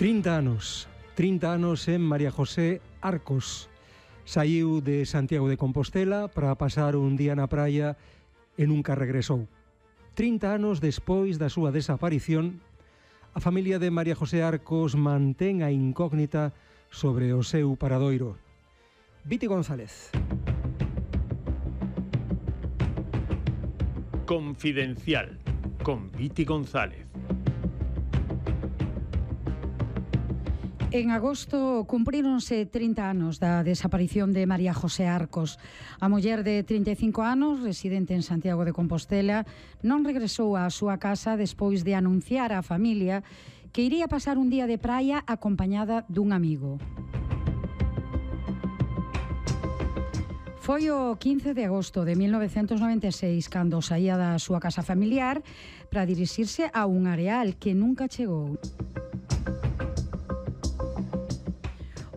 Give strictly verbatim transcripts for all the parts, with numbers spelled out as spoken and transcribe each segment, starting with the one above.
trinta anos, trinta anos en María José Arcos. Saiu de Santiago de Compostela para pasar un día na praia e nunca regresou. trinta anos despois da súa desaparición, a familia de María José Arcos mantén a incógnita sobre o seu paradoiro. Viti González. Confidencial, con Viti González. En agosto cumpríronse trinta anos da desaparición de María José Arcos. A muller de trinta e cinco anos, residente en Santiago de Compostela, non regresou á súa casa despois de anunciar á familia que iría pasar un día de praia acompañada dun amigo. Foi o quince de agosto de mil novecentos noventa e seis cando saía da súa casa familiar para dirixirse a un areal que nunca chegou.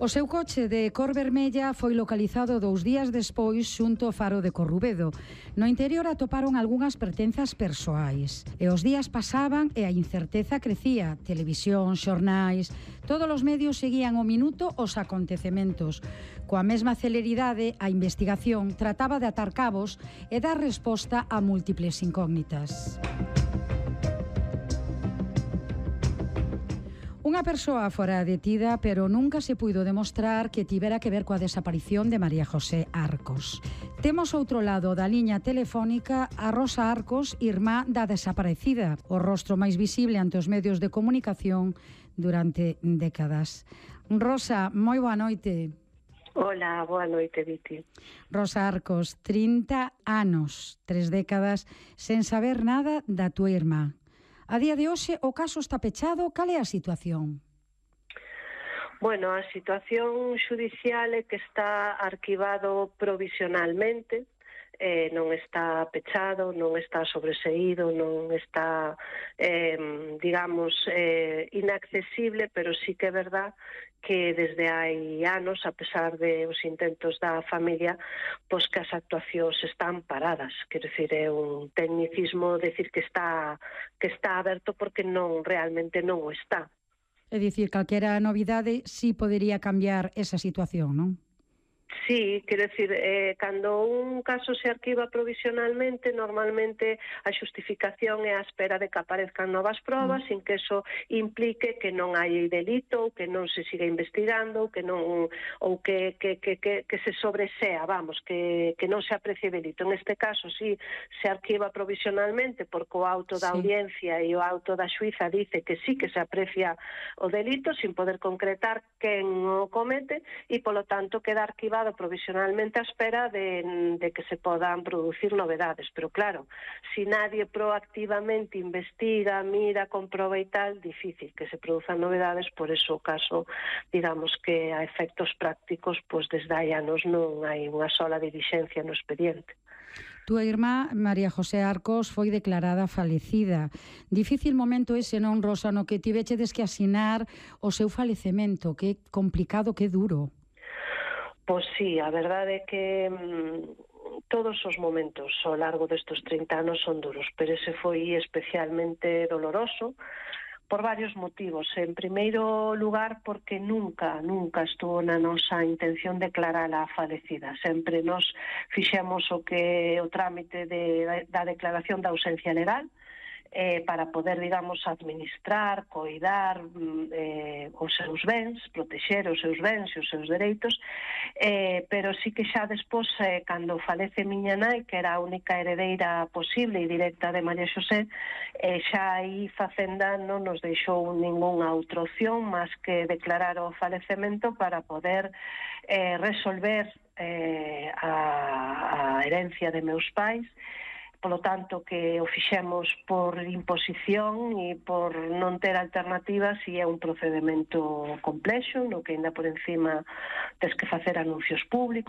O seu coche de cor vermella foi localizado dous días despois xunto ao faro de Corrubedo. No interior atoparon algunhas pertenzas persoais. E os días pasaban e a incerteza crecía. Televisión, xornais, todos os medios seguían o minuto os acontecementos. Coa mesma celeridade, a investigación trataba de atar cabos e dar resposta a múltiples incógnitas. Unha persoa fora detida, pero nunca se puido demostrar que tivera que ver coa desaparición de María José Arcos. Temos outro lado da liña telefónica a Rosa Arcos, irmá da desaparecida, o rostro máis visible ante os medios de comunicación durante décadas. Rosa, moi boa noite. Hola, boa noite, Viti. Rosa Arcos, trinta anos, tres décadas, sen saber nada da túa irmá. A día de hoxe o caso está pechado, cal é a situación? Bueno, a situación xudicial é que está arquivado provisionalmente, eh, non está pechado, non está sobreseído, non está, eh, digamos, eh, inaccesible, pero sí que é verdad que desde hai anos, a pesar de os intentos da familia, pois que as actuacións están paradas. Quero dicir, é un tecnicismo decir que está que está aberto porque non realmente non o está. É dicir, calquera novidade sí podería cambiar esa situación, non? Sí, quero dicir, eh, cando un caso se arquiva provisionalmente, normalmente a xustificación é a espera de que aparezcan novas probas, mm. sin que eso implique que non hai delito, ou que non se siga investigando, ou que non ou que, que, que, que, que se sobresea, vamos, que, que non se aprecie delito. En este caso, sí, se arquiva provisionalmente porque o auto da sí. audiencia e o auto da xuíza dice que sí que se aprecia o delito, sin poder concretar quen o comete, e polo tanto queda arquivado provisionalmente a espera de, de que se podan producir novedades. Pero claro, si nadie proactivamente investiga, mira, comproba e tal, difícil que se produzan novedades, por eso o caso, digamos que a efectos prácticos, pois desde hai anos non hai unha sola dilixencia no expediente. Tua irmá, María José Arcos, foi declarada falecida. Difícil momento ese, non, Rosa, no que tivechedes que asinar o seu falecemento. Que complicado, que duro. Pois sí, a verdade é que mmm, todos os momentos ao largo destes trinta anos son duros, pero ese foi especialmente doloroso por varios motivos. En primeiro lugar, porque nunca, nunca estuvo na nosa intención declarala falecida. Sempre nos fixemos o que o trámite de, da declaración da ausencia legal, Eh, para poder, digamos, administrar, coidar eh, os seus bens, protexer os seus bens e os seus dereitos, eh, pero sí que xa despois, eh, cando falece miña nai, que era a única heredeira posible e directa de María Xosé, eh, xa aí Facenda non nos deixou ningunha outra opción máis que declarar o falecemento para poder eh, resolver eh, a, a herencia de meus pais. Polo tanto, que o fixemos por imposición e por non ter alternativas, e é un procedimento complexo, no que ainda por encima tes que facer anuncios públicos,